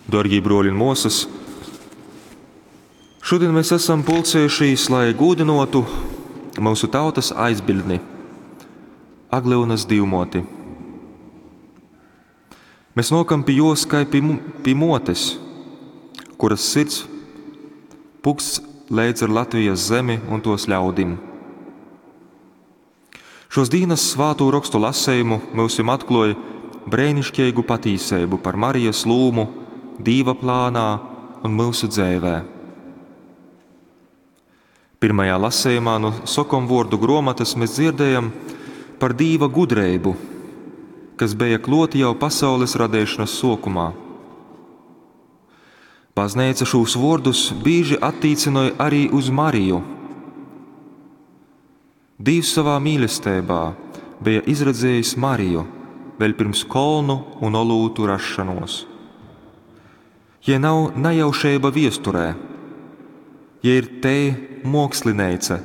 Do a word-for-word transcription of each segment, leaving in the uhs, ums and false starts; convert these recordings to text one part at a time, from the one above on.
Dārgie bruoļi un muosys, šodien mēs esam pulcējušies, lai gūdinotu mūsu tautas aizbildni, Aglyunas Dīvmoti. Mēs nokam pie jos kai pie, pie motes, kuras sirds puksts leidz ar Latvijas zemi un tos ļaudim. Šos dīnas svātū rokstu lasējumu myusim atkloja brēnišķīgu patīseibu par Marijas lūmu Dīva plānā un myusu dzēvē. Pirmajā lasējumā no sokomvordu gromatas mēs dzirdējam par Dīva gudreibu, kas bija kloti jau pasaules radēšanas sokumā. Baznīca šos vārdus bieži attīcināja arī uz Mariju. Dievs savā mīlestībā bija izredzējis Mariju vēl pirms kolnu un olūtu rašanos. Ja nav nejaušība viesturē, ja ir te mākslineica,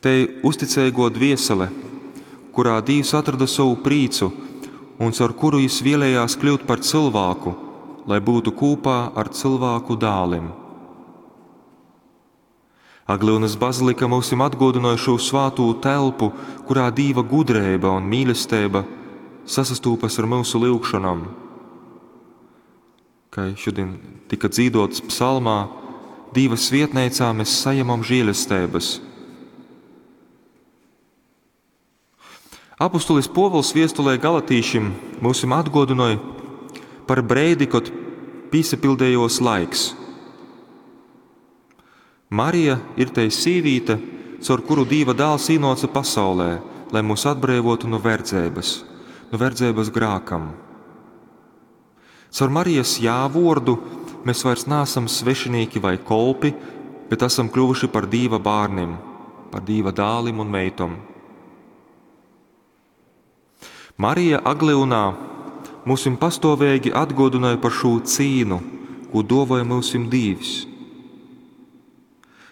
te uzticīgo dviesele, kurā Dievs atrada savu prīcu un caur kuru jis vēlējās kļūt par cilvēku, lai būtu kopā ar cilvēku dālim. Aglyunas bazilika mūsim atgodināja šo svātū telpu, kurā Dīva gudrība un mīlestība sasastūpas ar mūsu lūgšanām. Kā šodien tika dzīdots psalmā, Dīva svietneicā mēs saņemam žēlestības. Apustulis Povuls viestulē Galatīšim mūsim atgodināja par breidi, kad pīsapildējos laiks. Marija ir tei sīvīte, caur kuru Dīva dāls īnoca pasaulē, lai mūs atbrīvotu no verdzības, no verdzības grākam. Caur Marijas jāvordu mēs vairs neesam svešinieki vai kolpi, bet esam kļuvuši par Dīva bērniem, par Dīva dālim un meitom. Marija Aglyunā mūsim pastāvīgi atgodināja par šo cīnu, ko dovoja mūsim Dīvs.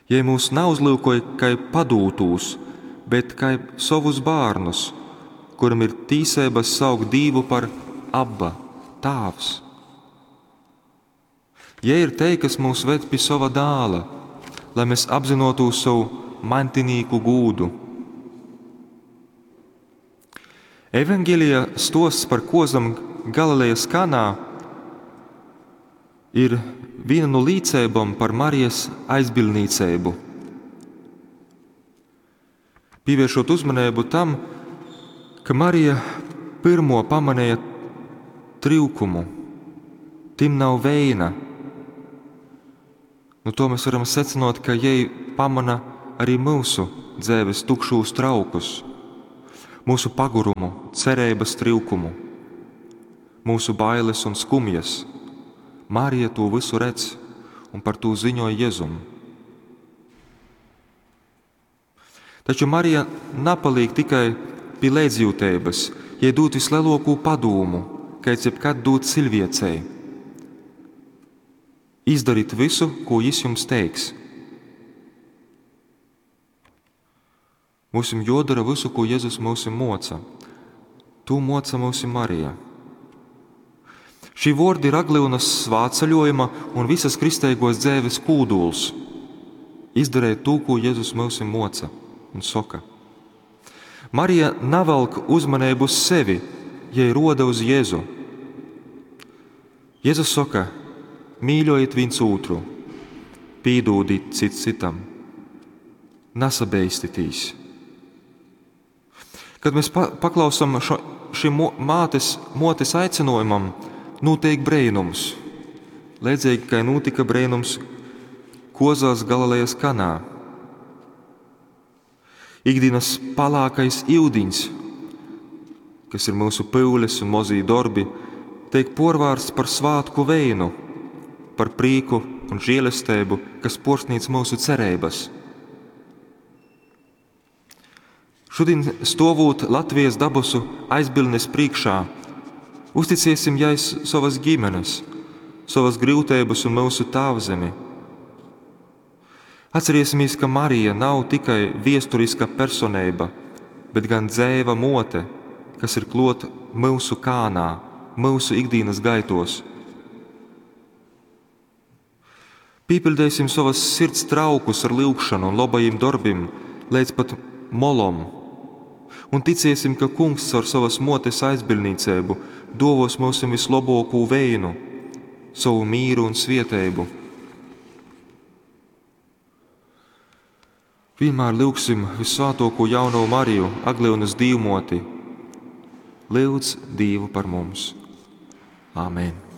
Ja mūs neuzlūkoja kā padūtūs, bet kā savus bērnus, kuram ir tīsības saukt Dīvu par Abba, Tāvs. Ja ir te, kas mūs ved pie sava dāla, lai mēs apzinotu savu mantinīku gūdu. Evangelija stosts par kozam Galilejas kanā ir viena no līdzībām par Marijas aizbildnīcību. Pievēršot uzmanību tam, ka Marija pirmo pamanīja trūkumu, tim nav veina. Nu, to mēs varam secināt, ka jai pamana arī mūsu dzīves tukšos traukus, mūsu pagurumu, cerības trūkumu, mūsu bailes un skumjas. Marija to visu redz un par to ziņoja Jēzum. Taču Marija napaliek tikai pie līdzjūtības, jai dot vislielāko padomu, kāds jebkad dot cilvēcei. Izdarīt visu, ko jis jums teiks. Mūsim jodara visu, ko Jēzus mūsim moca. To moca mūsim Marija. Šī vordi ir Aglyunas svātceļojuma un visas kristīgos dzēves kūduls. Izdarēt to, ko Jēzus mūsim moca un soka. Marija navelk uzmanību uz sevi, ja roda uz Jēzu. Jēzus saka, mīļojiet viens otru, pīdūdīt cits citam, nesabeistitīs. Kad mēs pa paklausam šo, šim mātes, motes aicinājumam, notiek brēnums. Līdzīgi kā notika brēnums Kozās Galilejas kanā. Ikdienas palākais iudiņs, kas ir mūsu pyules un mozī darbi, tiek porvārsts par svātku veinu, par prīku un žēlestību, kas porsnīc mūsu cerības. Šodien stovot Latvijas dabusu aizbildnes priekšā, uzticiesim jai savas ģimenes, savas grūtības un mūsu tēvzemi. Atcerēsimies, ka Marija nav tikai viesturiska personība, bet gan dzēva mote, kas ir klot mūsu kānā, mūsu ikdienas gaitos. Pīpiļdeisim sovas sirds traukus ar lyugšonu un lobajim dorbim leidz pat molom un ticiesim, ka Kungs caur sovas Muotes aizbiļdnīceibu duovuos myusim vyslobuokū veinu, sovu mīru un svieteibu. Vīnmār lyugsim Vyssvātuokū Jaunovu Mariju, Aglyunys Dīvmuoti. Lyudz Dīvu par mums! Amen.